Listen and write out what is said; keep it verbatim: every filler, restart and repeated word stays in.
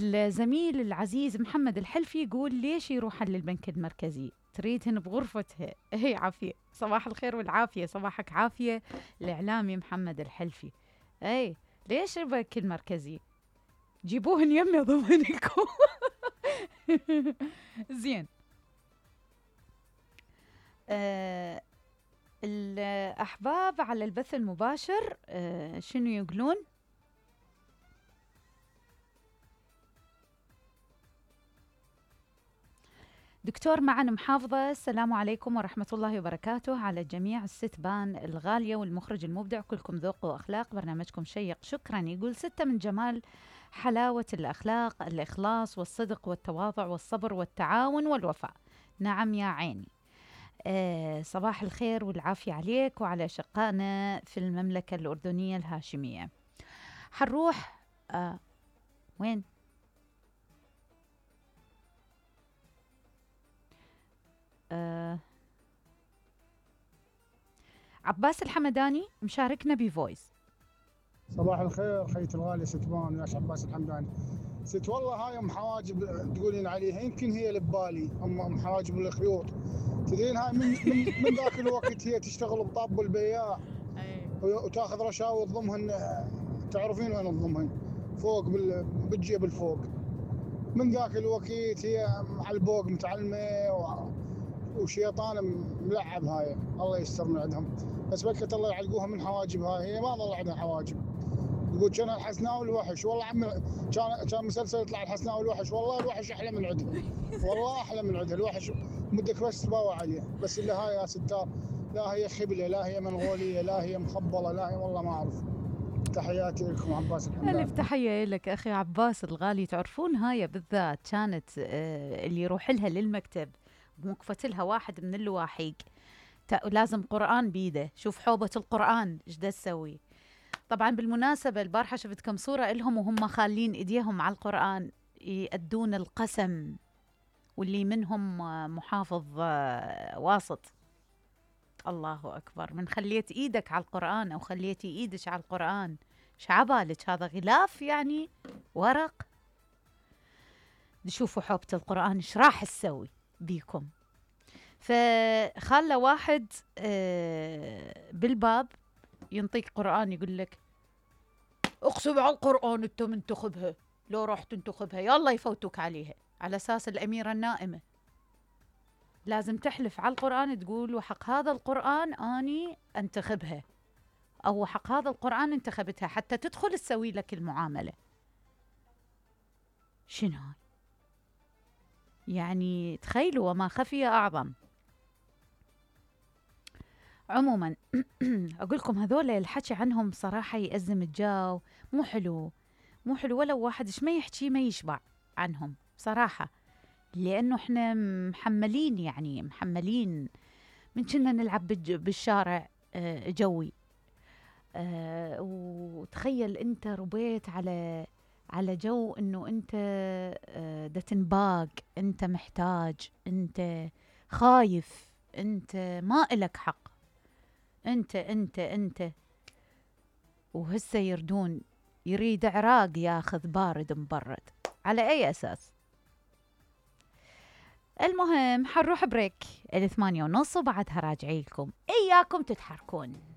الزميل العزيز محمد الحلفي يقول ليش يروح للبنك المركزي؟ تريدهن بغرفتها. هي عافية، صباح الخير والعافية، صباحك عافية. الإعلامي محمد الحلفي، أي ليش البنك المركزي؟ جيبوهن يمي ضمنكم. زين. آه الأحباب على البث المباشر آه شنو يقولون؟ دكتور معن محافظة، السلام عليكم ورحمة الله وبركاته على جميع الستبان الغالية والمخرج المبدع، كلكم ذوق وأخلاق، برنامجكم شيق، شكرا. يقول ستة من جمال حلاوة الأخلاق الإخلاص والصدق والتواضع والصبر والتعاون والوفاء. نعم يا عيني. آه صباح الخير والعافية عليك وعلى شقائنا في المملكة الأردنية الهاشمية. حنروح آه وين؟ آه عباس الحمداني مشاركنا بفويس. صباح الخير خيت الغالي ستبان ياش عباس الحمداني. ست والله هاي ام حواجب تقولين عليها يمكن هي اللي ببالي، ام ام حواجب الخيوط. تدرين هاي من من, من ذاك الوقت هي تشتغل بطاب البياع وتاخذ رشاوي تضمهن، تعرفين وين تضمهن؟ فوق بالجيب الفوق. من ذاك الوقت هي على البوق متعلمه وشيطان ملعب هاي، الله يستر من عندهم. بس بكت الله يعلقوها من حواجب هاي، هي ما ظل عندها حواجب. يقول كان الحسناوي الوحش، والله عمي كان كان مسلسل يطلع الحسناوي الوحش، والله الوحش احلى من عندها، والله احلى من عندها الوحش. بدك بس تباوع عليه، بس اللي هاي يا ستار لا هي خبله، لا هي منغوليه، لا هي مخبله، لا هي والله ما اعرف. تحياتي لكم عباس الحمداني. ألف تحية لك أخي عباس الغالي. تعرفون هاي بالذات كانت آه اللي يروح لها للمكتب موقفت لها واحد من اللواحيق لازم قرآن بيده. شوف حوبة القرآن ايش دا تسوي. طبعا بالمناسبة البارحة شفت كم صورة إلهم وهم خالين إيديهم على القرآن يأدون القسم، واللي منهم محافظ آه واسط. الله أكبر. من خليت إيدك على القرآن أو خليتي إيدك على القرآن شعبالك هذا غلاف يعني ورق. تشوفوا حوبة القرآن ايش راح تسوي بيكم. فخلى واحد بالباب ينطيك قرآن يقول لك اقسم على القرآن انت منتخبها، لو راح تنتخبها يلا يفوتوك عليها، على اساس الأميرة النائمة لازم تحلف على القرآن تقول وحق هذا القرآن اني انتخبها، او حق هذا القرآن انتخبتها حتى تدخل تسوي لك المعاملة. شنو هاي؟ يعني تخيلوا وما خفي أعظم. عموما أقول لكم هذول الحكي عنهم صراحة يأزم الجو، مو حلو مو حلو. ولو واحد ايش ما يحكي ما يشبع عنهم صراحة، لأنه احنا محملين يعني محملين من كنا نلعب بالشارع جوي. أه وتخيل انت ربيت على على جو انه انت دا تنباق، انت محتاج، انت خايف، انت ما إلك حق، انت انت انت وهسه يردون يريد عراق ياخذ بارد مبرد. على اي اساس؟ المهم حنروح بريك الثمانية ونص وبعدها راجعي لكم، اياكم تتحركون.